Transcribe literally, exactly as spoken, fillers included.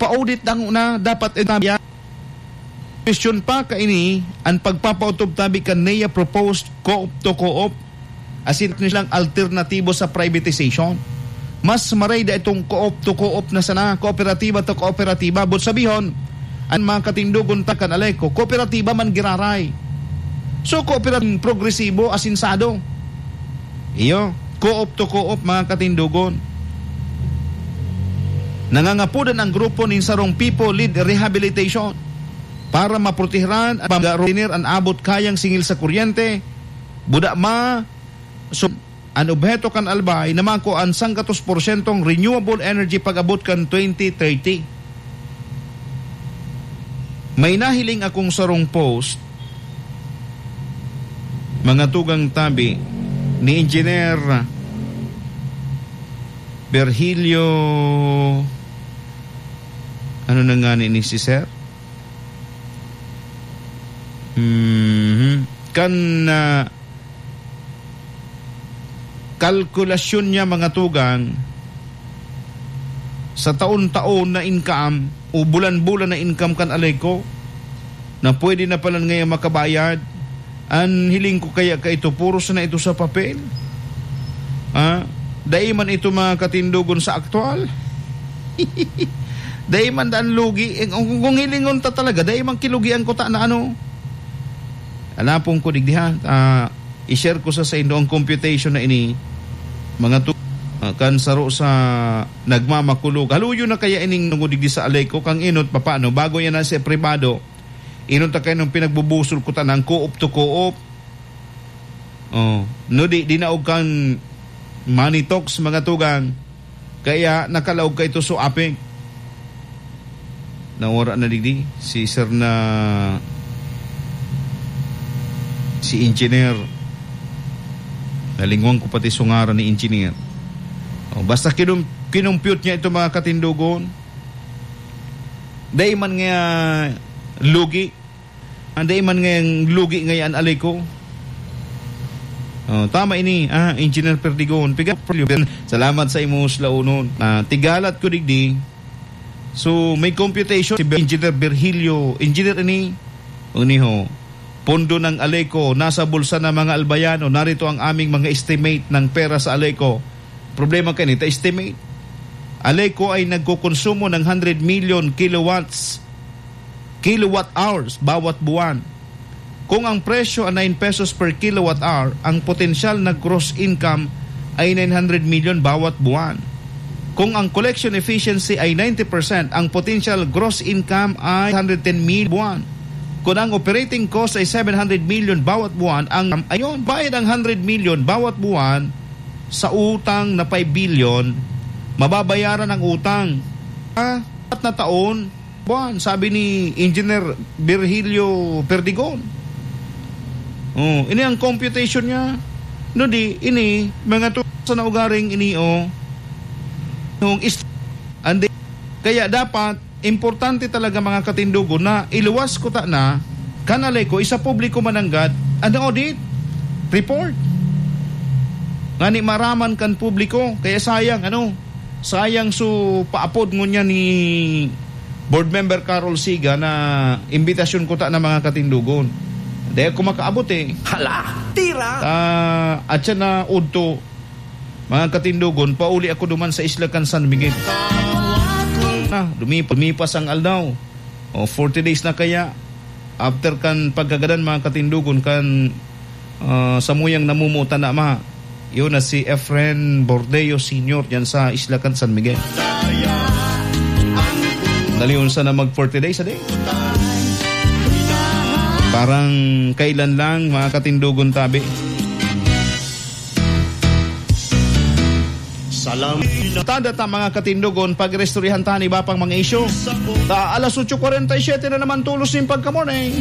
pa-audit dang una, dapat itabi. Question pa kaini, an pagpapautob tabi kan NEA proposed co-op to co-op, asin silang alternatibo sa privatization. Mas maray da itong co-op to co-op na sana, kooperatiba to kooperatiba. But sabihon, an mga katindogon ta kan Aleco, kooperatiba man giraray. So, kooperatiba progresibo, asinsado. Iyo, co-op to co-op, mga katindogon. Nangangapodan ang grupo nin sarong people-led rehabilitation para maprotehiran at pag-retener an abot kayang singil sa kuryente, buda ma, so, an obheto kan Albay na makua an sanggatos porsyentong renewable energy pag-abot kan twenty thirty. May nahiling akong sarong post, mga tugang tabi, ni Engineer Virgilio, ano na nga ni, ni si Sir? Mhm. Kan, ah, kalkulasyon niya, mga tugang, sa taon-taon na income o bulan-bulan na income kan Aleco, na pwede na pala ngayon makabayad, an hiling ko kaya ka ito, puro sana ito sa papel. Ah, dai man ito, mga katindogon, sa aktual. Dai man daan lugi. Eh, kung, kung hilingon ta talaga, dai man kilugian ko ta na ano. Alapon ko digdi, ha. Ah, i-share ko sa saindo ang computation na ini, mga tu-, ah, kan saro sa nagmamakulog. Haluyo na kaya ining nungod digdi sa Aleco, kang inot, papaano? Bago yan na sa pribado, inot ta kayo nung pinagbubusol ko ta ng co-op to co-op. Oh, no di, di na og kan money talks, mga tugang. Kaya nakalaog ka ito so aping. Nawara na digdi si sir na si engineer. Nalingwan ko pati so ngaran ni engineer. Oh, basta kinum-, kinumpute niya ito, mga katindogon. Dai man nga lugi. Ang dai man ngayang lugi ngayon, Aleco. Oh, tama ini, ah, Engineer Perdigon. Piga-, salamat sa imo sa launon. Ah, tigalat ko digdi. So, may computation si Engineer Virgilio. Engineer ini, uniho. Pondo ng Aleco, nasa bulsa ng mga Albayano. Narito ang aming mga estimate ng pera sa Aleco. Problema kanita, estimate. Aleco ay nagkokonsumo ng hundred million kilowatts, kilowatt hours bawat buwan. Kung ang presyo ay nine pesos per kilowatt hour, ang potensyal na gross income ay nine hundred million bawat buwan. Kung ang collection efficiency ay ninety percent, ang potential gross income ay hundred ten million buwan. Kung ang operating cost ay seven hundred million bawat buwan, ang, ayun, bayad ang hundred million bawat buwan, sa utang na five billion, mababayaran ang utang. Ah, apat na taon, buwan, sabi ni Engineer Virgilio Perdigon. Oh, ini ang computation niya. No di, ini, mga tu-, sa naugaring ini, oh. Nung is-, ande-, kaya dapat, importante talaga, mga katindogon, na iluwas ko ta na, kan Aleco, isa publiko mananggad, an audit report. Ngani maraman kan publiko, kaya sayang, ano, sayang so paapod ngunyan ni Board Member Carol Siga na imbitasyon ko ta na, mga katindogon. Di ako makaabot, eh. Hala, tira! Ah, at siya na udto, mga katindogon, pauli ako duman sa isla kan San Miguel. Na, lumipas, lumipas ang aldaw. O, forty days na kaya. After kan pagkagadan, mga katindogon, kan, ah, samuyang namumutan na ama. Yun na si Efren Bordeo Senior diyan sa isla kan San Miguel. Dali, unsa na mag forty days, ade? Parang kailan lang, mga katindogon, tabi. Salam. Tada ta, mga katindogon, pag-restoryahan ta an iba pang mga isyu. Ta alas otso kwarenta y siyete na naman tolos nin pagka-morning.